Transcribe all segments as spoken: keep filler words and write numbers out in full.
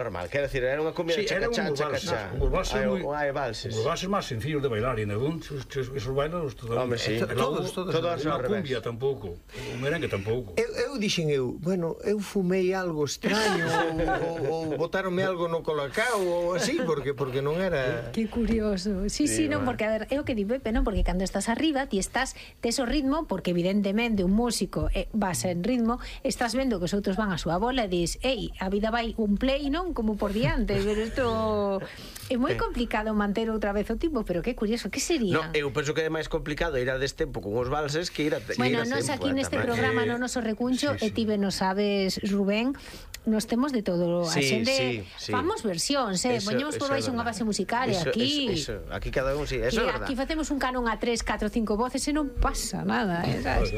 normal, quero dicir, era unha cumbia Sí, era un chacachá, vals, chacachá. un vals Hai moi... hai valses. Os valses máis sencillos de bailar, e negún, esos bailan Home, sí. todos, todos, todos ao unha revés. cumbia tampouco, un merengue tampouco. Eu, eu dixen eu, bueno, eu fumei algo extraño ou, ou botaronme algo no colacao ou así, porque porque non era... Que curioso. Sí, sí, Sí, non, bueno. porque a ver, é o que di Pepe, non, porque cando estás arriba, ti estás tes o ritmo, porque evidentemente un músico eh, vas en ritmo, estás vendo que os outros van a súa bola e dis, ei, a vida vai un play, non, como por diante, pero isto é moi complicado manter outra vez o tipo, pero que curioso, que sería? No, eu penso que é máis complicado ir a destempo con os valses que ir a que Bueno, ir a nos tempo, aquí eh, neste tamén. programa Eh, no noso recuncho sí, e sí. ti ben nos sabes, Rubén, nos temos de todo, a Sí, xente sí, sí. famos versións, eh, Eso- poñemos por eso é baixo unha verdade. base musical e Eso- aquí eso- eso, aquí cada un, sí, eso que é verdade. aquí facemos un canon a tres, catro, cinco voces e non pasa nada, eh, sabes?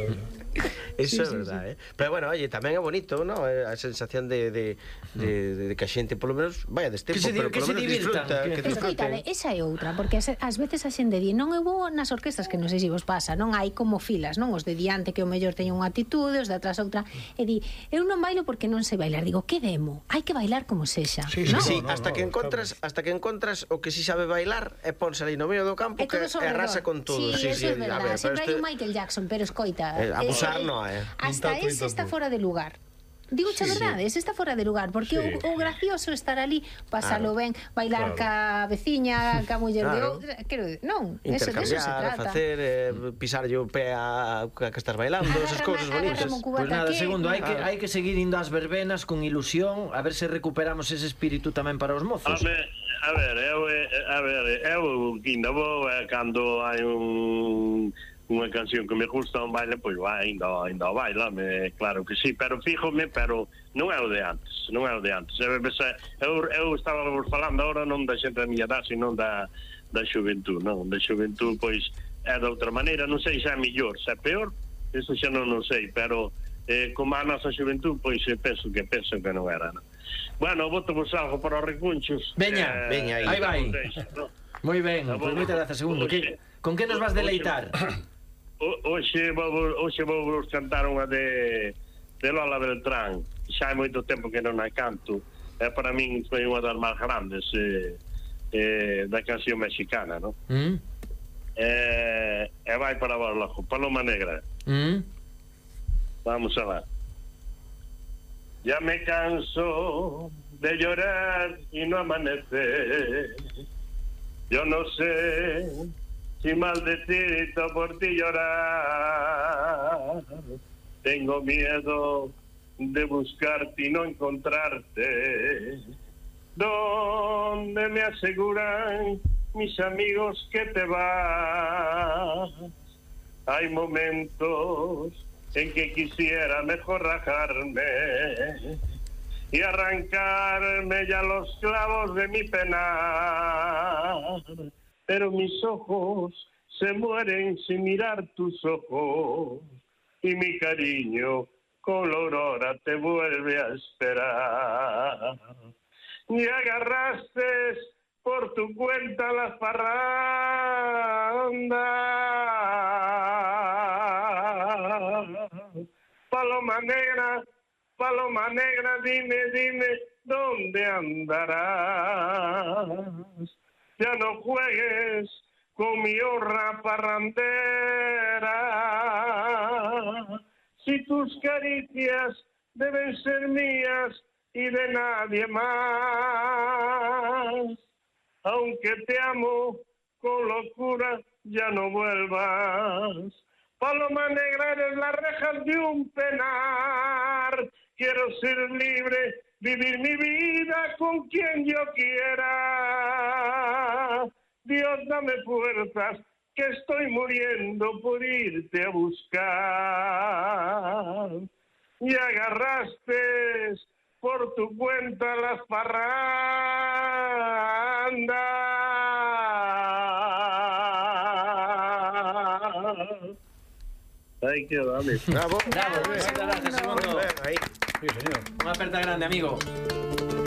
Eso Sí, é sí, verdade, eh? Pero bueno, oye, tamén é bonito, ¿no? Eh, A sensación de, de, de, de, de que a xente polo menos vaya destempo, Que se di- pero que polo se menos divirtan, disfruta, que- que Escoitade, disfruten. esa é outra, porque ás, ás veces a xente di, non eu vou nas orquestas, que non sei se vos pasa, non hai como filas, non? Os de diante que o mellor teñen unha atitude, os de atrás outra, e di, eu non bailo porque non sei bailar, digo, que demo? Hai que bailar como sexa, Sí, non? Sí, No, no, hasta no, que encontras, hasta que encontras o que si sabe bailar e ponse ali no medio do campo É que todo e arrasa con todo. Sí, eso é a verdade. ver, pero Sempre hai este- un Michael Jackson, pero escoita, Eh, abusar eh, no é. hasta Nin tanto, ese nin está tampouco. fora de lugar. Digo a Sí, verdade, ese está fora de lugar, porque Sí. o, o gracioso estar ali, pasalo ben, bailar ca Claro. veciña, ca muller de Claro. outra, quero decir, non, eso de eso se Intercambiar, trata. facer, eh, pisarlle o pé a, a que estás bailando, esas cousas Agarra- bonitas. agarra mo Pois nada, aquí. segundo, hai que, Claro. hai que seguir indo ás verbenas con ilusión, a ver se recuperamos ese espírito tamén para os mozos. Home, a ver, eu, eh, a ver, eu ainda vou eh, cando hai un unha canción que me gusta un baile, pois vai, ainda, ainda baila, me, claro que sí, pero fíjome, pero non é o de antes, non é o de antes. Eu, eu, eu estaba falando agora non da xente da miña edad, sino da, da xuventud, non? Da xuventud, pois, é de outra maneira, non sei se é mellor, se é peor, eso xa non, non sei, pero eh, como a nosa xuventud, pois, eh, penso que penso que non era, non? Bueno, voto vos algo para os recunchos. Veña, veña aí. Aí vai. No? Moi ben, Ah, pois bueno. moitas grazas, segundo. Que, con que nos vas deleitar? O- Hoxe vou, hoxe vou vos cantar unha de, de Lola Beltrán. Xa hai moito tempo que non a canto. É para min foi unha das máis grandes eh, eh, da canción mexicana, non? Mm? Eh, e vai para vos, loco, Paloma Negra. Mm? Vamos a ver. Ya me canso de llorar y no amanece. Yo no sé si maldecito por ti llorar. Tengo miedo de buscarte y no encontrarte. Donde me aseguran mis amigos que te vas. Hay momentos en que quisiera mejor rajarme y arrancarme ya los clavos de mi penar, pero mis ojos se mueren sin mirar tus ojos y mi cariño con la aurora te vuelve a esperar. Y agarraste por tu cuenta las parrandas. Paloma negra, paloma negra, dime, dime, ¿dónde andarás? Ya no juegues con mi honra parrandera. Si tus caricias deben ser mías y de nadie más, aunque te amo con locura, ya no vuelvas. Paloma negra, eres las rejas de un penar. Quiero ser libre, vivir mi vida con quien yo quiera. Dios, dame fuerzas, que estoy muriendo por irte a buscar. Y agarraste por tu cuenta las parrandas. Ay, qué dale. Bravo. Bravo, moitas grazas, segundo. Ben, aí. Sí, señor. Unha aperta grande, amigo.